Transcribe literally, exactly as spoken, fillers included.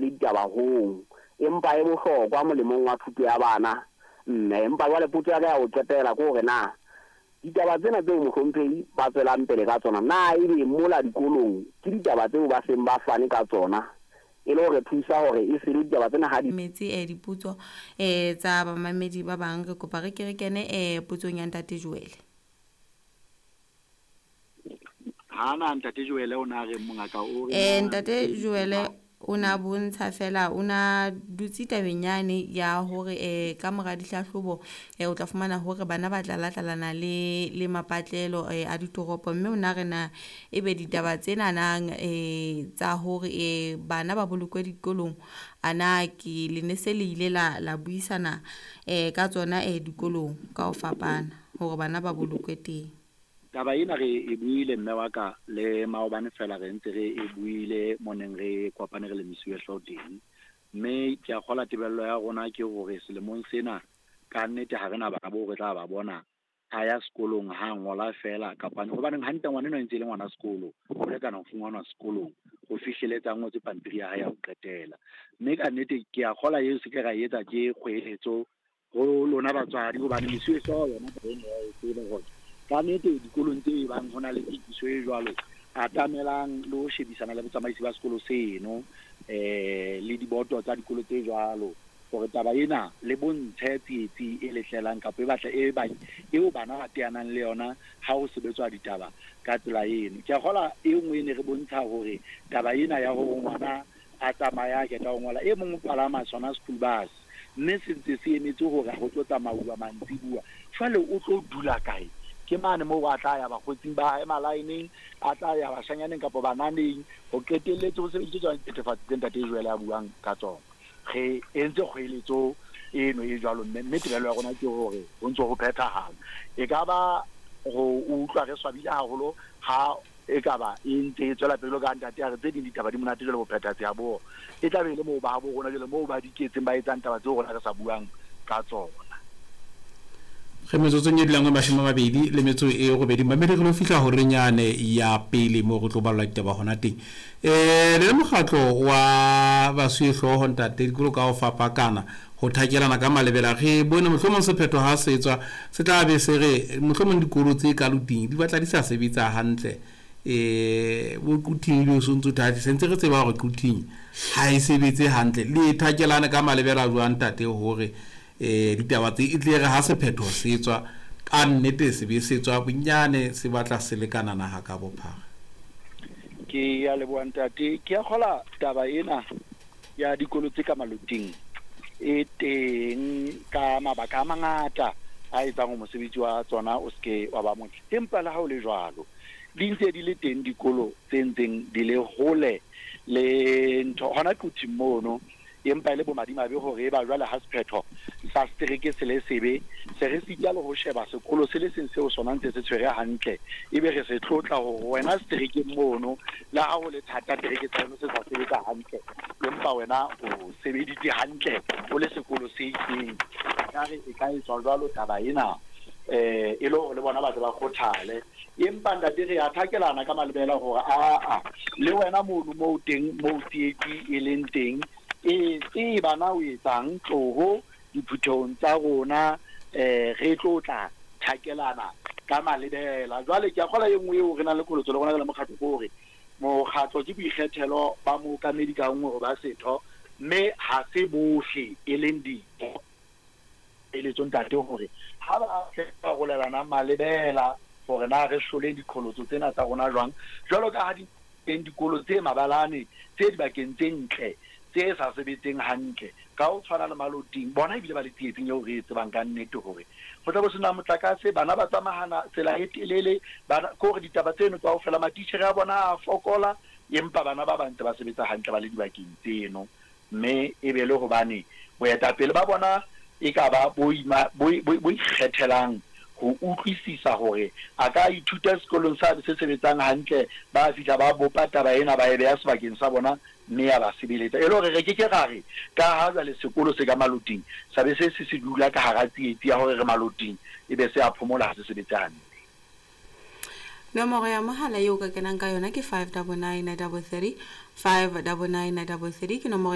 le ditaba hong, empa e bohlokwa molemong wa thuto ya bana. Mme empa jwale potso ya ka ya ho qetela ke hore na ditaba tsena tseo mohlomphehi ba tswelang pele ka tsona, na ebe mola dikolong ke ditaba tseo ba seng ba fane ka tsona e le hore thusa hore e se le ditaba tsena ha di Metse eh dipotso eh tsa bamamedi ba bang, re kopa re ke re kene eh potsong ya ntate Joel. Ha na ntate Joel o na re mongaka o re Eh na ntate Joel o na bontsha fela o na dutse tabeng yane ya hore eh ka mora dihlahlobo eh o tla fumana hore bana ba tlala-tlalana le le mapatlelo eh a ditoropo, mme o na re na ebe ditaba tsena nang eh tsa hore eh bana ba bolokwe dikolong, ana ke le ne se le ile la la buisana eh ka tsona eh dikolong ka ho fapana hore bana ba bolokwe teng. Taba ena re e buile mme wa ka le maobane fela, re ntse re e buile mo neng re kopane re le mesuwehlooho teng, mme ke a kgola tebello ya rona ke hore selemong sena ka nnete ha re na bana boo re tla ba bona a ya sekolong ha ngola fela kapa hobaneng hantle ngwana enwa e ntse e le ngwana sekolo, o lekana ho fumanwa sekolong ho fihleletsa a ngotse pampiri ya hae ya ho qetela. Mme ka nnete ke a kgola eo se ke ra e etsa ke kgoeletso ho lona batswadi, hobane mesuwehlooho yona taba ena ya e tseba hore ka nnete dikolong tse bang ho na le tokiso e jwalo, atamelang le ho shebisana le botsamaisi ba sekolo seno eh le diboto tsa dikolo tse jwalo, hore taba ena le bontshe tsietsi e letlelang kapa e batla e ba eo bana ba teanang le yona ha ho sebetswa ditaba ka tsela eno. Ke a kgola e nngwe e ne re bontsha hore taba ena ya hore ngwana a tsamaya a qeta ho ngola, e mong o palama sona school bus, mme se ntse se emetse hore ho tlo tsamauwa mantsibuya, jwale o tlo dula kae? Ke mane moo a tla ya bakgotsing ba hae malaeneng, a tla ya bashanyaneng kapa bananeng, ho qetelletse ho sebedisitswe tsona dithethefatsi tse ntate Joel a buang ka tsona. Re entse kgoeletso eno e jwalo, mme mme tebello ya rona ke hore ho ntso ho phethahala. E ka ba ho utlwa re swabile haholo ha e ka ba e ntse e tswela pele ka ntate a re tse ding ditaba di monate jwale bophethatsi ha bo, e tla be e le moo ba habo rona jwale moo ba diketseng ba etsang taba tseo rona re sa buang ka tsona. Re metsotsong e dulang e mashome a mabedi le metso e robedi, mamedi re lo fihla horeng yane ya pele moo re tlo ballwa ditaba hona teng. Eh le mokgatlo wa basuwehlooho ntate dikolo ka ho fapakana ho thakelana ka malebela, re bone mohlomong sephetho ha se tswa se tla be se re mohlomong dikolo tse ka loting di batla di sa sebetsa hantle, eh bo Quthing le so ntso thathe se ntse re tseba hore Quthing ha e sebetse hantle. Le thakelana ka malebela jwang ntate hore eh ditaba tse e tle re ha sephetho se tswa ka nnete se be se tswa bonyane se batla se lekana naha ka bophara? Ke ya leboha ntate. Ke a kgola taba ena ya dikolo tse ka maloting e teng ka mabaka a mangata a etsang hore mosebetsi wa tsona o seke wa ba motle, empa le ha o le jwalo di ntse di le teng dikolo tse ntseng di le hole le ntho hona Quthing mono, empa e le bomadimabe hore e ba jwale ha sephetho sa setereke se le sebe, se re sita le ho sheba sekolo se le seng seo sona ntse se tshwere hantle, ebe re se tlotla hore wena seterekeng mono le ha ho le thata tereke tsa yona se sa sebetsa hantle, empa wena o sebeditse hantle o le sekolo se itseng. Ekare e ka etswa jwalo taba ena eh e le hore le bona batho ba kgothale, empa ntate re a thakelana ka malebela hore aa le wena mono moo teng moo tsietsi e leng teng e tseba na o etsang tloho diphuthehong tsa rona, eh re tlo tla thakelana ka malebela. Jwale ke a kgola e nngwe eo re nang le qholotso le rona re le mokgatlo ke hore mokgatlo ke boikgethelo ba mookamedi ka nngwe ho ba setho, mme ha se bohle e leng ditho. Eletso ntate hore ha ba tle ba rolelana malebela hore na re hlole diqholotso tsena tsa rona jwang, jwalo ka ha di teng dikolo tse mabalane tse dibakeng tse ntle tse sa sebetseng hantle ka ho tshwana le maloting, bona ebile ba le tsietsing eo re e tsebang ka nnete hore ho tla bo sena motlakase, bana ba tsamahana tsela e telele, bana ke hore ditaba tseno kaofela matitjhere a bona a fokola, empa bana ba ba ntse ba sebetsa hantle ba le dibakeng tseno, mme e be le hobane boetapele ba bona e ka ba bo ima bo bo ikgethelang ho utlwisisa hore a ka ithuta sekolong sa se sebetsang hantle, ba fihla ba bopa taba ena ba e beha sebakeng sa bona mme ya ba sebeletsa. E le hore re ke ke ra re ka ha jwale sekolo se ka maloting sa be se se se dula ka hara tsietsi ya hore re maloting e be se a phomola ha se sebetse hantle. Nomoro ya mohala eo ka kenang ka yona ke five double nine double three, five double nine double three ke nomoro ya